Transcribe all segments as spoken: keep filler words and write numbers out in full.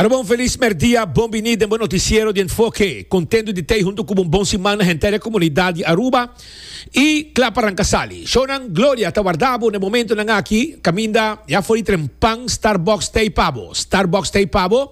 Aruba, un feliz merdia, bon bini den noticiero di Enfoke. Contento di ta hunto cu un bon siman na henter comunidad di Aruba. Y cla pa ranca sali. Shonan, Gloria, ta warda bo na momento nan aki, caminda, ya for di trempan, Starbucks t'ey pa bo. Starbucks t'ey pa bo.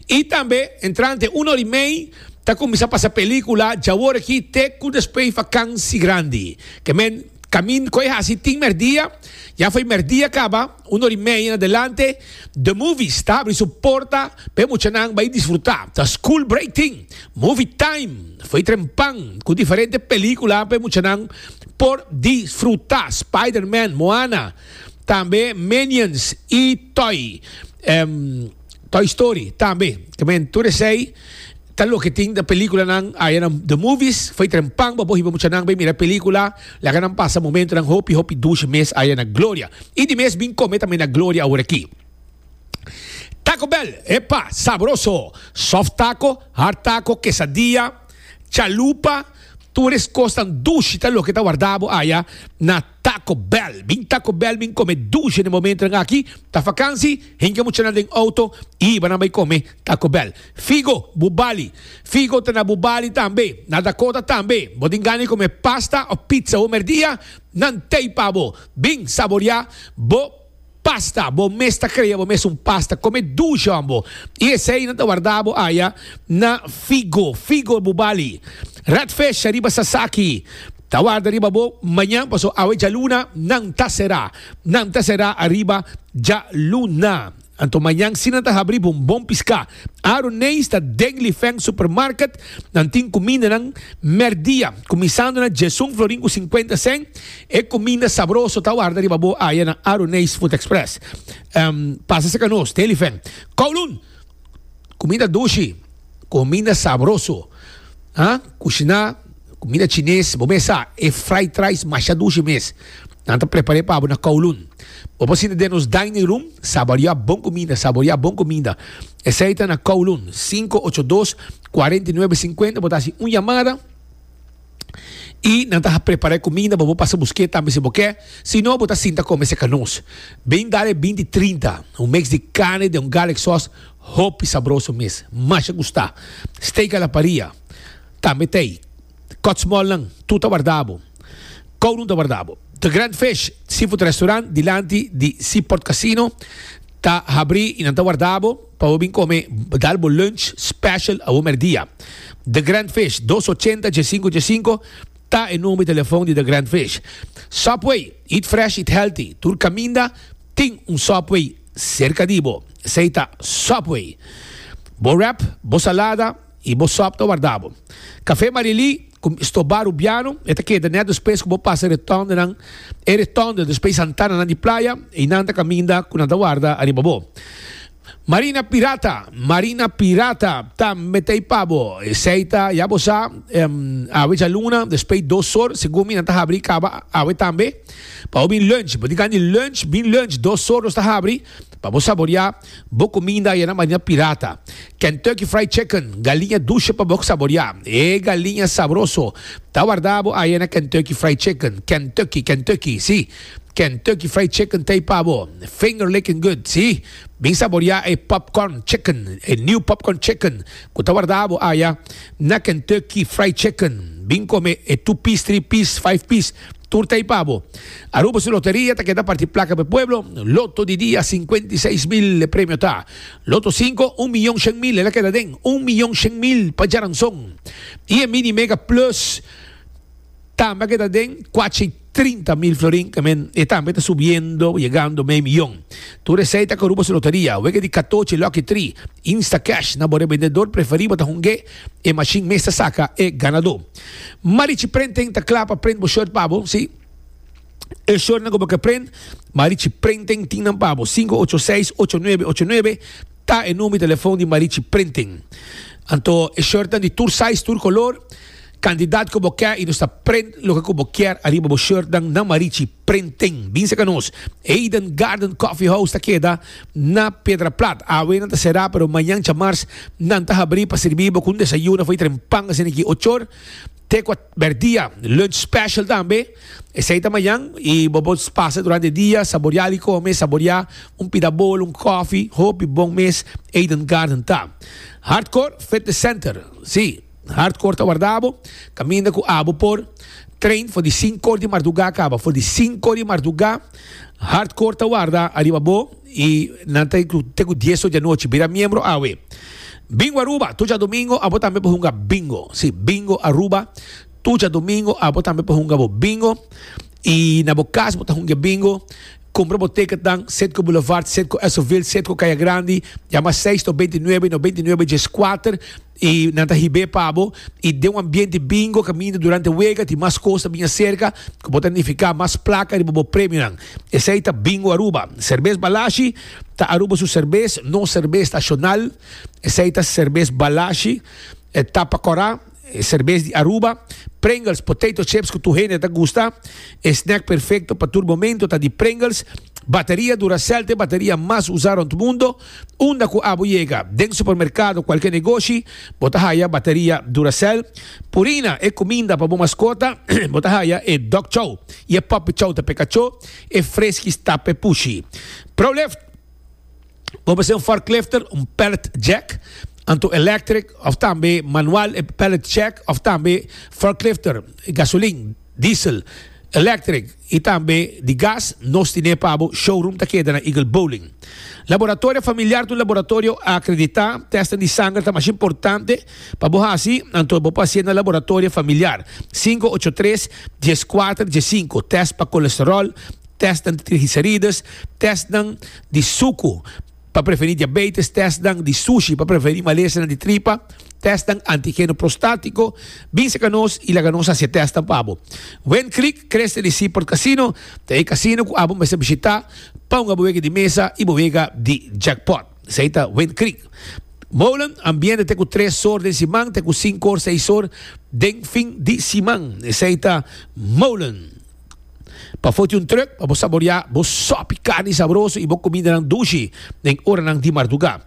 Y tambe, entrante un or y mey, ta cuminsa pasa pelicula, djawor aki te cu despues vakantie grandi. Kemen, camin coy hasi tin merdia, ya for di merdia caba, un or y mey en adelante, The Movies ta habri su porta, pa muchanan bay disfruta. Ta school break ting, movie time, for di trempan, cu diferente pelicula pa muchanan por disfruta. Spider-Man, Moana, tambe Minions y Toy, um, Toy Story, tambe. Tambe tur esey, ta loke tin di pelicula nan aya na The Movies, for di trempan bo hiba muchanan bay mira pelicula, laga nan pasa momento nan hopi hopi dushi mes aya na Gloria y di mes bin come tambe na Gloria awor aki. Taco Bell, epa, sabroso. Soft taco, hard taco, quesadilla, chalupa, tur e cosnan dushi ta loke ta warda bo aya na Taco Bell. Bin Taco Bell, bin come dushi na momento aki, ta vakantie, hinca muchanan den auto y nan bay come Taco Bell. Figo, Bubali. Figo ta na Bubali tambe, na Dakota tambe. Bo tin gana come pasta of pizza o merdia, nan t'ey pa bo. Bin saborea bo pasta, bo mes ta crea bo mes un pasta, come dushi ambo. Y esey nan ta warda bo aya na Figo, Figo Bubali. Redfish ariba Sasaki. Ta warda riba bo mañan, paso awe djaluna nan ta sera. Nan ta sera ariba djaluna. Anto mañan si nan ta habri bon bon pisca. Aaron ta den Li Feng Supermarket, nan tin cuminda nan merdia, cuminsando na diesun florin cu cincuenta cent, e cuminda sabroso ta warda riba bo aya na Aroneis Food Express. Um, pasa serca nos, Li Feng. Kowloon, cuminda dushi, cuminda sabroso. Ah, cushina, cuminda chines, bo mes sa, e fried rice masha dushi mes. Nan ta prepara pa na Kowloon. Bo por sinta den nos dining room, saborea bon cuminda, saborea bon cuminda. Esey ta na Kowloon, cinco ocho dos cuarenta y nuebe cincuenta, bo ta haci un yamada y nan ta prepara cuminda, bo pasa busca tambe si bo kier. Si no, bo ta sinta come serca nos. Bin dal binti trinta, un mix di carni den un garlic sauce, hopi sabroso mes. Masha gusta. Steak a la parrilla. Tambe t'ey. Cut small lang, tur ta warda bo. Kowloon ta warda bo. The Grand Fish Seafood Restaurant, dilanti di Seaport Casino, ta habri y nan ta warda bo pa bin come dal bo lunch special awe merdia. The Grand Fish, dos ochenta diescinco diescinco ta e number di telefon di The Grand Fish. Subway, eat fresh, eat healthy. Tur caminda tin un Subway cerca di bo. Esey ta Subway. Bo wrap, bo salada y bo sop ta warda bo. Café Marili, Stobar Rubiano, e ta keda net despues cu bo pasa rotonde nan, e rotonde despues Santana nan di Playa, y nan ta caminda cu nan ta warda ariba bo. Marina Pirata, Marina Pirata, tambe t'ey pa bo. Esey ta, ya bo sa, um, awe djaluna, despues dos or, segun mi nan ta habri caba awe tambe. Pa bin lunch, bo tin lunch, bin lunch, dos or ta habri, pa bo saborea bo cuminda na Marina Pirata. Kentucky Fried Chicken, galiña dushi pa bo saborea. E galiña sabroso. Ta warda bo aya na Kentucky Fried Chicken. Kentucky, Kentucky, si. Kentucky Fried Chicken t'ey pa bo. Finger licking good, si. Bin saborea e popcorn chicken, e new popcorn chicken. Cu ta warda bo aya na Kentucky Fried Chicken. Bin come e two piece, three piece, five piece. Tur t'ey pa bo. Aruba su loteria ta keda parti placa pa pueblo. Lotto di dia cincuenta y seis mil premio ta. Lotto cinco, un miyon cien mil, el a keda den. un miyon cien mil pa djaranson. Y e Mini Mega Plus tambe a keda den cuater trinta mil florin, kemen e tambe ta subiendo, yegando mey miyon. Tur esey ta Aruba su loteria. Wega di catochi Lucky Three, Insta Cash, na bo rebendedor preferi bo ta hunga e machine mes ta saca e ganador. Marichi Printing ta cla pa print bo shirt pa bo, si. E shirt nan cu bo kier print, Marichi Printing tin nan pa bo. cinco ocho seis ocho nuebe ocho nuebe ta e number di telefon di Marichi Printing. Anto, e shirt di tur size, tur color, cantidad cu bo kier y nos ta print loke cu bo kier ariba bo shirt dan na Marichi Printing. Bin serca nos. Eden Garden Coffee House ta keda na Piedra Plat. Awe nan ta sera, pero mañan djamars nan ta habri pa sirbi bo cu desayuno for di trempan asina aki ocho or. Te cu merdia, lunch special tambe. Esey ta mañan y bo por pasa durante dia, saborea di come, saborea un pida bolo, un coffee, hopi bon mes Eden Garden ta. Hardcore Fitness Center. Si, Hardcore ta warda bo, caminda cu abo por train for di cinco or di marduga caba, for di cinco or di marduga, Hardcore ta warda ariba bo y nan ta te cu dies or di anochi. Bira miembro awe. Bingo Aruba, tur diadomingo, abo tambe por hunga bingo. Si, Bingo Aruba, tur diadomingo, abo tambe por hunga bo bingo. Y na bo cas bo ta hunga bingo. Cumpra bo ticket dan Citgo Boulevard, Citgo Essoville, Citgo Caya Grandi, yama seis noventa i nuebe, noventa i nuebe dies kuater y nan ta hib'é pa bo y den un ambiente bingo caminda durante wega tin mas cos ta bin acerca cu bo ta nifica mas placa riba bo premionan. Esey ta Bingo Aruba. Cerbes Balashi ta Aruba su cerbes, no cerbes nacional. Esey ta Cerbes Balashi, e tapa cora. E cerbes di Aruba, Pringles potato chips cu tur hende ta gusta. E snack perfecto pa tur momento ta di Pringles. Bateria Duracell ta e bateria mas usa rond mundo. Unda cu abo yega, den supermercado, cualke negoshi, bo ta haya bateria Duracell. Purina, e cuminda pa bo mascota, bo ta haya e dog chow y e puppy chow ta p'e cacho, e friskies ta p'e pushi. Prolift. Bo mester un forklifter, un pallet jack, anto electric of tambe manual e pallet jack of tambe forklifter, gasolin, diesel, electric y tambe di gas, nos tine pa bo. Showroom ta keda na Eagle Bowling. Laboratorio Familiar ta un laboratorio acredita, testen di sanger ta masha importante pa bo haci, anto bo por hacié na Laboratorio Familiar, sinku ocho tres, dies kuater, dies sinku, test pa colesterol, testnan di triglicerides, testnan di suku pa preveni diabetes, testnan di sushi pa preveni malesanan di tripa, testnan antigeno prostatico. Bin cerca nos y laga nos haci e testnan pa bo. Wind Creek, Cresta di Seaport Casino ta e casino cu abo mester bishita pa hunga bo wega di mesa y bo wega di jackpot. Esey ta Wind Creek. Molen, ambiente te cu tres or den siman, te cu cinco or, seis or den fin di siman. Esey ta Molen. Pafó tin un truck pa bo saboreá bo sòpi karni sabroso i bo kumindanan dushi den oranan di mardugá.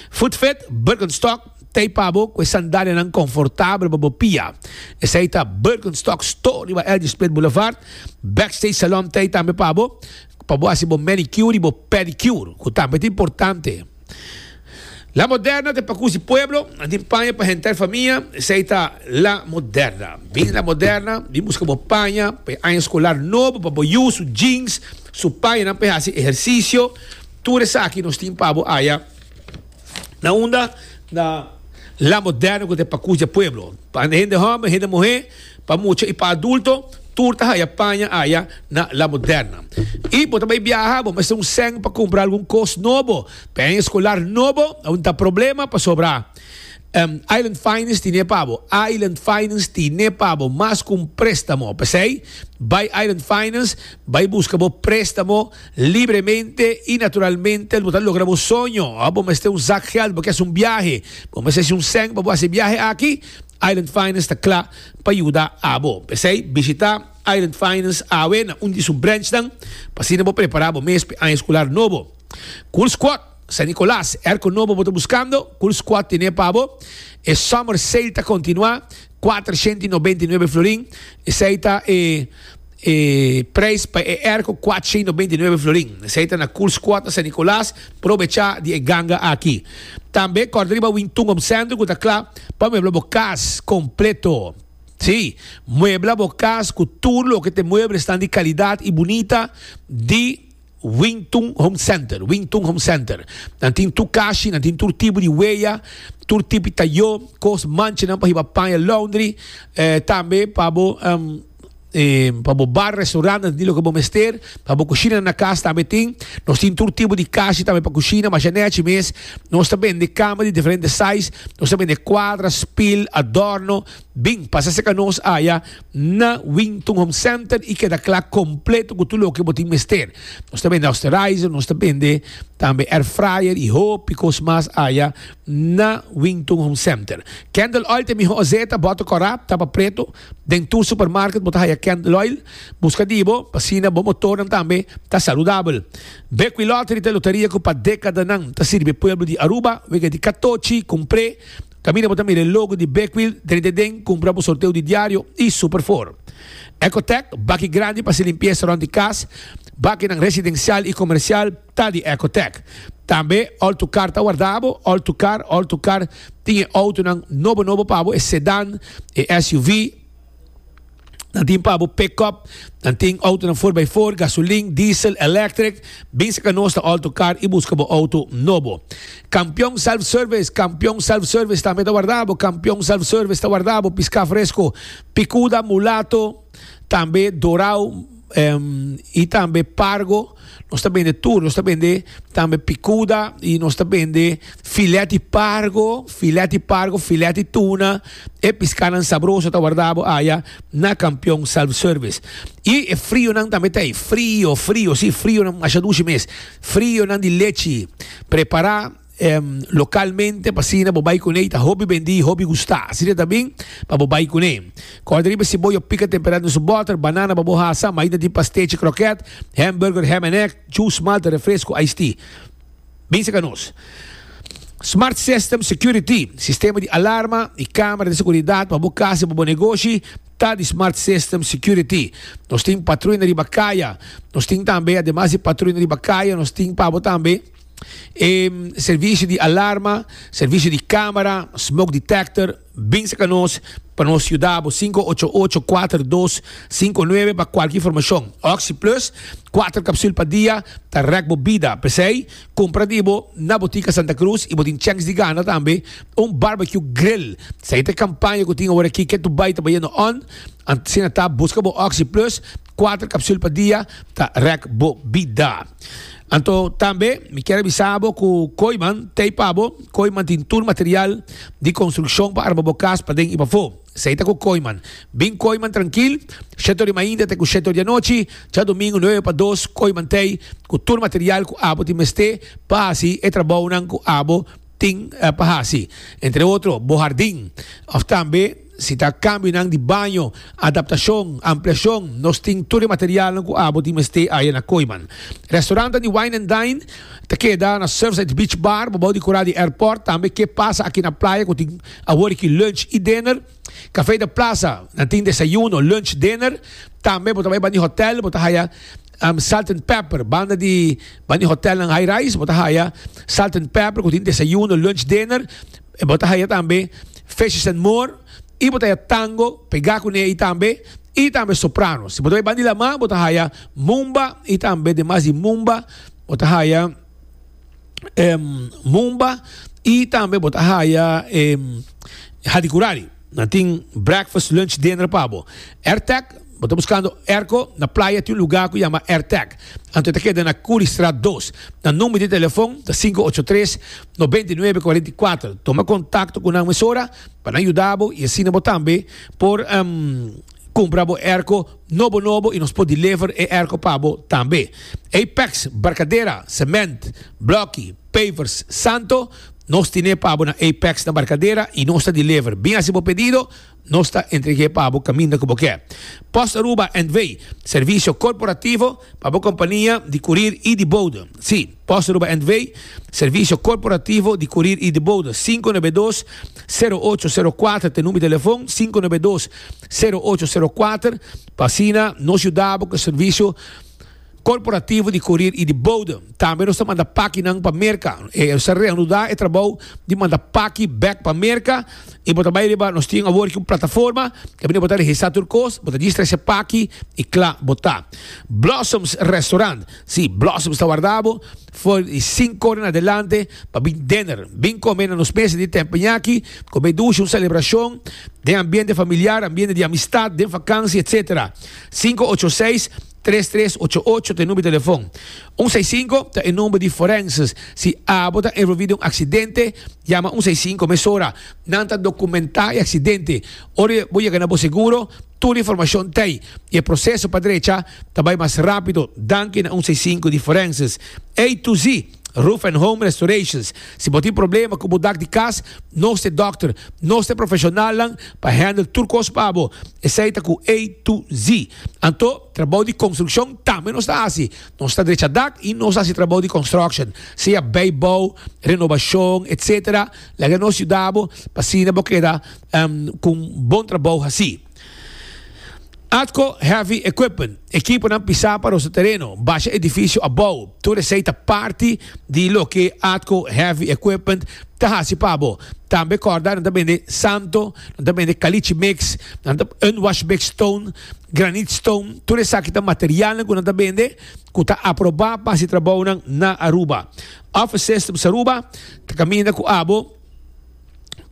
Food Fit, Birkenstock, t'ei pa bo ku e sandalianan konfortabel pa bo pia. Esei ta Birkenstock Store riba L G Smith Boulevard. Backstage Salon t'ei tambe pa bo, pa bo hasi bo manicure i bo pedicure, ku tambe ta importante. La Moderna ta e pakus di pueblo, nan tin paña pa henter famia, esei ta La Moderna. Bini La Moderna, bin buska bo paña pa e aña skolar nobo, pa bo yu, su jeans, su pañanan pa e hasi ehersisio. Tur esaki nos tin pa bo aya na unda? Na La Moderna ku ta e pakus di e pueblo. Pa hende hòmber, hende muhé, pa mucha i pa adulto. Tur ta haya paña aya na La Moderna. I bo ta bai biaha, bo mester un sèn pa kumpra algun kos nobo, paña eskolar nobo, aun ta problema pasobra Island Finance tine pa bo. Island Finance tine pa bo mas ku un préstamo. P'esei, bai Island Finance, bai buska bo préstamo libremente i naturalmente bo ta logra bo soño. Ò bo mester un zak gèld, bo ke hasi un biahe, bo mester hasi un sèn pa bo hasi e biahe aki, Island Finance ta kla pa yuda abo. P'esei, bishita Island Finance awe na un di su branchnan pa asina bo prepará bo mes p'e aña escolar nobo. Cool Squad, San Nicolas, Airco nobo bo ta buscando? Cool Squad tene pa bo. E Summer Sale ta continua, kuatrocientos i nobenta i nuebe florin. Esei ta e E prijs pa e airco kuatsha i nobenta i nuebe florin. Esei ta na Cool Squad na San Nicolas. Probecha di e ganga aki. Tambe corda riba Wintun Home Center cu ta cla pa muebla bo cas completo. Si, muebla bo cas cu tur loke ta e mueblesnan di calidad y bunita di Wintun Home Center. Wintun Home Center. Nan tin tur kashi, nan tin tur tipo di weya, tur tipo di tayo, cos, manchanan pa hiba paña laundry, eh, tambe pa bo E pa bo bar, restaurant, nan tin loke bo mester. Pa bo kushina na kas tambe tin. Nos tin tur tipo di kashi tambe pa kushina, masha nechi mes. Nos ta bende kama di diferente size. Nos ta bende kuadra, spil, adorno. Bin, pasa serka nos aya na Wington Home Center i keda kla kompleto ku tur loke bo tin mester. Nos ta bende osterizer, nos ta bende tambe air fryer i hopi kos mas aya na Wington Home Center. Candle oil ta e miho azeta, bòter kòrá, tapa preto. Den tur supermarket bo ta haya candle oil. Buska di bo, pa asina bo motornan tambe ta saludabel. Bequi Lottery ta e loteria ku pa dekadanan ta sirbi e pueblo di Aruba. Wega di katochi, kumpr'é. Kaminda bo ta mira e logo di Big Wheel, drenta den, kumpra bo sorteo di diario i Super Four. Ecotec, baki grandi pa hasi limpiesa rònt di kas, bakinan residensial i komersial ta di Ecotec. Tambe All to Car ta warda bo, All to Car, All to Car tin e outonan nobo nobo pa bo, e sedan, e S U V, nan tin pa bo pick-up, nan tin outonan four by four, gasolin, diesel, electric. Bin saka nos na All to Car i buska bo outo nobo. Kampion Self Service, Kampion Self Service tambe ta warda bo, Kampion Self Service ta warda bo, piská fresko, pikuda, mulato, tambe dorau, em, i tambe pargo. Nos ta bende tur, nos ta bende tambe picuda i nos ta bende filet di pargo, filet di pargo, filet di tuna, e piscanan sabroso ta warda bo aya na Campeon Self Service. I e frionan tambe ta ei, frio, frio, si, frionan masha dushi mes, frionan di lechi prepara em, localmente pa asina bo bai kuné, ta hopi bendí, hopi gustá. Asina ta bin pa bo bai kuné. Kòrda riba siboyo pika temperá den su bòter, banana pa bo hasa, maida tin pastechi, kroket, hamburger, ham and egg, juice, malta, refresco, iced tea. Bin saka nos. Smart System Security, sistema di alarma i kamera di seguridat pa bo kas i pa bo negoshi, ta di Smart System Security. Nos tin patruina riba kaya. Nos tin tambe, ademas di patruina riba kaya, nos tin pa bo tambe e servisio di alarma, servisio di kamera, smoke detector. Bin saka nos pa nos yuda bo, sinku ocho ocho kuater dos sinku nuebe pa kualke informashon. Oxi Plus, kuater kapsul pa dia, ta rèk bo bida. P'esei, kumpra di bo na Botica Santa Cruz i bo tin chèns di gana tambe un barbecue grill. Esei ta e kampaña ku tin awor aki, ke tu bai ta bayendo on. Asina ta, buska bo Oxi Plus, kuater kapsul pa dia, ta rèk bo bida. Anto tambe mi kier a bisa bo ku Kooiman t'ei pa bo. Kooiman tin tur material di konstrukshon pa arma bo kas paden i pafó. Esei ta ku Kooiman. Bin Kooiman trankil, shete ora di mainta te ku shete ora di anochi, djadumingu nuebe pa dos, Kooiman t'ei ku tur material ku abo tin mester pa hasi e trabounan ku abo tin pa hasi. Entre otro bo hardin òf tambe si ta kambionan di baño, adaptashon, ampliashon, nos tin tur e materialnan ku abo tin mester aya na Kooiman. Restaurantnan di Wine and Dine ta keda na Surfside Beach Bar, bobou di kura di airport, tambe ke pasa aki na playa ku tin awor aki lunch i dinner. Café de Plaza, nan tin desayuno, lunch, dinner. Tambe bo ta bai banda di hotel, bo ta haya Salt and Pepper, banda di banda di hotelnan high rise, bo ta haya Salt and Pepper ku tin desayuno, lunch, dinner. Bo ta haya tambe Fishes and More. I bo ta haya Tango pegá kuné ei tambe, i tambe Soprano. Si bo ta bai banda di lamá, bo ta haya Mumba, i tambe demas di Mumba, bo ta haya Mumba, i tambe bo ta haya Hadikurari. Nan tin breakfast, lunch, dinner pa bo. Airtec, bo ta buskando airco, na playa tin un lugá ku yama Airtec. Anto e ta keda na Curiestraat dos. Nan number di telefon ta sinku ocho tres, nobenta i nuebe, kuarenta i kuater. Tuma kontakto ku nan mesora pa nan yuda bo i asina bo tambe por kumpra bo airco nobo nobo i nos por deliver e airco pa bo tambe. Apex, Barcadera, Cement, Bloki, Pavers, Santo, nos tine pa bo na Apex na Barcadera i nos ta deliver. Bin hasi bo pedido, nos ta entreg'é pa bo kaminda ku bo ke. Post Aruba N V, servisio korporativo pa bo kompania di kurir i di bode. Sí, Post Aruba N V, servisio korporativo di kurir i di bode. Sinku nuebe dos, sero ocho sero kuater ta e number di telefon, sinku nuebe dos, sero ocho sero kuater, pa asina nos yuda bo ku e servisio korporativo di kurir i di bode. Tambe nos ta manda pakinan pa Merka. E nos ta reanudá e trabou di manda paki bèk pa Merka i bo ta bai riba nos tin awor ki un plataforma kaminda bo ta registrá tur kos, bo ta djis trese paki i kla bo ta. Blossoms Restaurant, sí, Blossoms ta warda bo for di sinku ora en adelante pa bin dinner. Bin kome na nos mesa di tempeñaki, kome dushi, un selebrashon den ambiente familiar, ambiente di amistad, den vakansi, etcetera. Sinku ocho seis, Tres tres ocho ocho ta e number di telefon. Un seis sinku ta e number di forenses. Si abo ta envolvi den un aksidente, yama un seis sinku mesora. Nan ta dokumentá e aksidente. Ora bo yega na bo seguro, tur informashon ta ei i e proseso pa drecha ta bai mas rápido. Danki na un seis sinku di forenses. A to Z. Roof and Home Restorations. Si bo tin problema ku bo dak di kas, nos ta dòkter, nos ta profeshonalnan pa handle tur kos pa bo. Esei ta ku A to Z. Anto, trabou di konstrukshon tambe nos ta hasi. Nos ta drecha dak i nos ta hasi trabou di construction. Sea bijbouw, renobashon, et cetera. Laga nos yuda bo pa asina bo keda um, ku bon trabou asina. Atco Heavy Equipment, ekiponan pisá pa nos tereno, basha edifisio abou, tur esei ta parti di loke Atco Heavy Equipment ta hasi pa bo. Tambe kòrda, nan ta bende santo, nan ta bende caliche mix, nan ta unwash mix stone, granite stone, tur esaki ta material ku nan ta bende, ku ta aprobá pa hasi trabou na Aruba. Office Systems Aruba, ta kaminda ku abo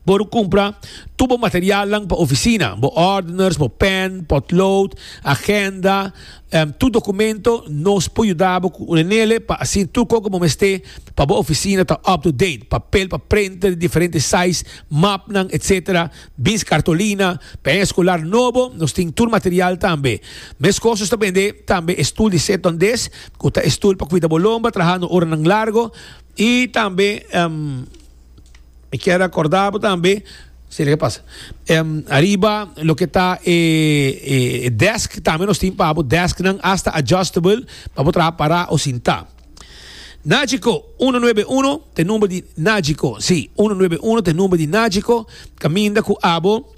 por kumpra tur bo material pa ofisina, bo ordners, bo pen, potlood, agenda, um, tur dokumento, nos por yuda ku nele pa asina tur kos ku mester pa bo ofisina ta up to date, papel pa printer, diferente size, mapnan, et cetera. Bins cartolina, pa eskolar nobo, nos tin tur material tambe. Meskos ta bende tambe stul di setondes, ku ta stul pa kuida bo lomba, trahando oranan largu i tambe um, mi ke rekordá tambe, si kiko pasa. Um, ariba, loke ta eh, eh, desk, tambe nos tin pa desk nan hasta adjustable, pa bo traha pará òf sintá. Nagico shen noventa i un, ta number di Nagico, si, shen noventa i un ta number di Nagico, kaminda ku abo,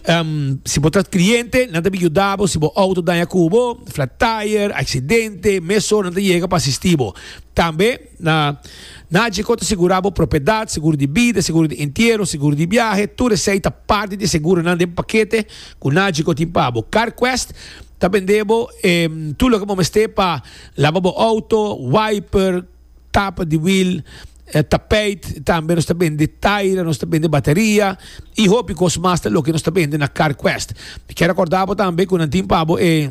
um, si bo ta kliente, nan ta yuda bo, si bo outo daña ku bo, flat tire, aksidente, mesora nan ta yega pa asistí bo. Tambe, na Nagico ta sigurá bo propiedat, seguro di bida, seguro di entiero, seguro di biahe, tur esei ta parti di seguronan den pakete ku Nagico tin pa bo. CarQuest ta bende bo eh, tur loke bo mester pa laba bo outo, wiper, tapa di wiel, eh, tapijt, tambe nos ta bende taira, nos ta bende bateria i hopi kos mas ta loke nos ta bende na CarQuest. Mi ke rekordá tambe ku nan tin pa bo eh,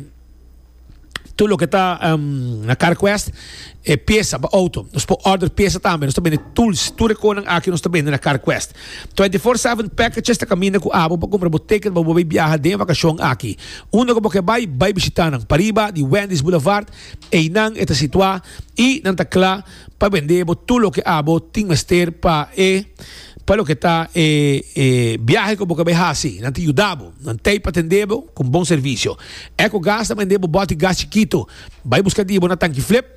tur loke ta um, na CarQuest e piesa pa outo. Nos por order piesa tambe. Nos ta bende tools, tur kos aki nos ta bende na CarQuest. twenty-four seven packages ta kaminda ku abo pa kumpra bo ticket pa bo biaha den vakashon aki. Unda ku bo ke bai, bai bishitá nan. Pariba di Wendy's Boulevard, einan e ta situá i nan ta kla pa bende bo tur loke abo tin mester pa e pa loke ta e, e biahe ku bo ke bai hasi, nan ta yuda bo, nan t'ei pa atendé bo ku bon servisio. Eco Gas ta bende bo bòter gas chikitu, bai buska di bo na Tanki Flip,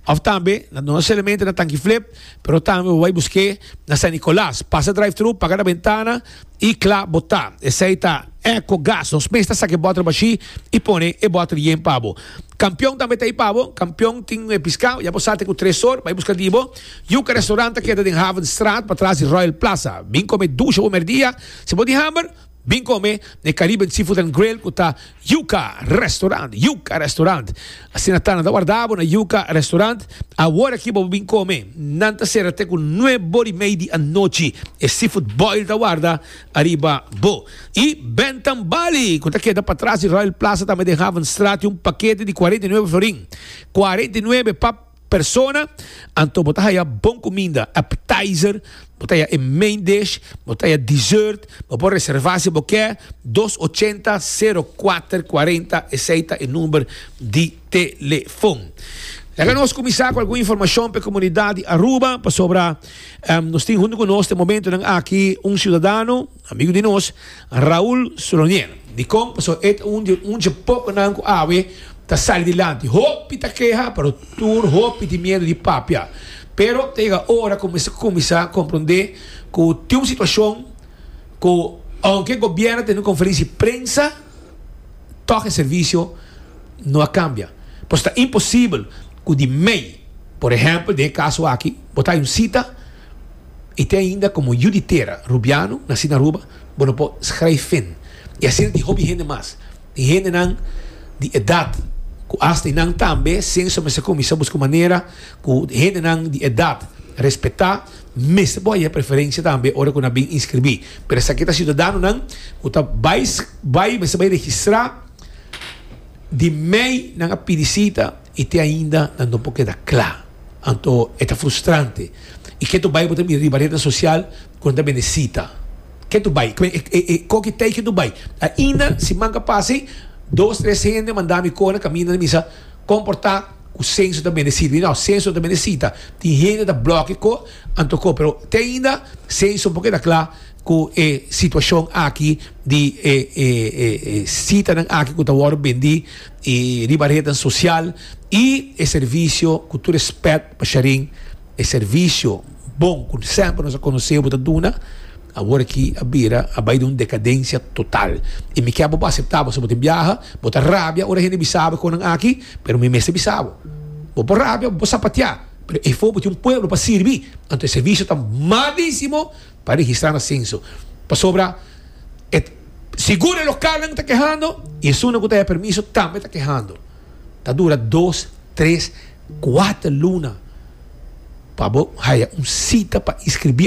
òf tambe, no solamente na Tanki Flip, pero tambe bai buska na San Nicolas. Pasa drive-thru, paga na bentana i kla bo ta. Esei ta Eco Gas. Nos mes ta saka e bòter bashí i pone e bòter yen pa bo. Kampeon tambe t'ei pa bo. Kampeon tin piská, ya bo sa ku tres or, bai buska di bo. Yuca Restaurant ta keda den Havenstraat, patras di Royal Plaza. Bin kome dushi o merdia. Si bo tin hamber, bin kome na Caribbean Seafood and Grill ku ta Yuca Restaurant. Yuca Restaurant. Asina ta, nan ta warda bo na Yuca Restaurant. Awor aki bo bin kome. Nan ta sera te ku nuebe i mei di anochi. E seafood boil ta warda ariba bo. I Bentam Bali, ku ta keda patras di Royal Plaza tambe den Havenstraat, un pakete di kuarenta i nuebe florin. kuarenta i nuebe pa persona, anto bo ta haya bon kuminda, appetizer, bo ta haya e main dish, bo ta haya dessert, bo por reservá si bo ke, dos ochenta, sero kuater kuarenta, esei ta e number di telefòn. Laga nos kuminsá ku algun informashon pa e komunidat di Aruba, pasobra um, nos tin huntu ku nos na e momento aki un siudadano, amigu di nos, Raúl Solonier. Di kon, pasobra e un di un di pokonan ku awe ta sali dilanti. Hopi ta keha, pero tur hopi tin miedu di papia. Pero ta yega ora kuminsá kuminsá komprondé ku tin un situashon ku aunke gobièrnu tin un konferensia di prensa, toch e servisio no a kambia. Pues ta imposibel ku di mei, por ehèmpel, den e kaso aki, bo ta un sita i te ainda komo yu di tera, rubiano, nasí na Aruba, bo no por schrijf in. I asina tin hopi hende mas. Tin hendenan di edat, ku hasta nan tambe, Censo mester kuminsá buska manera ku hendenan di edat respetá, mester por haya preferensia tambe ora ku nan bin inskribí. Pero esaki ta siudadanonan, ku ta bai bai mester bai registrá di mei nan a pidi sita i te ainda nan no por keda kla. Anto e ta frustrante. I ke tu bai bo ta mira riba ret sosial ku nan ta bende sita. Ke tu bai? E, e, e, koki tei ke tu bai? Ainda siman ku a pasa, dos, tres hende manda mi kona kaminda misa komportá. Ku Censo ta bende sita. No, Censo ta bende sita. Tin hende ta blòk ko anto ko, pero te ainda Censo por keda kla ku e situashon aki di e e e, e sitanan aki ku ta wòrdu bendí i riba ret sosial i e servisio, ku tur rèspèt pa Sharin, e servisio bon ku semper nos a konosé bo ta duna, awor aki a bira a bai den un dekadensia total. I mi ke bo aseptá, bo ta biaha, bo ta rabia ora hende bisa bo kosnan aki, pero mi mester bisa bo. Bo por rabia, bo sapateá, pero e for un pueblo pa sirbi, anto e servisio ta malísimo pa registrá na Censo. Pasobra e sigur e lokalnan ta kehando i esun ku tin permiso tambe ta kehando. Ta dura dos, tres, kuater luna pa bo haya un sita pa inskribí.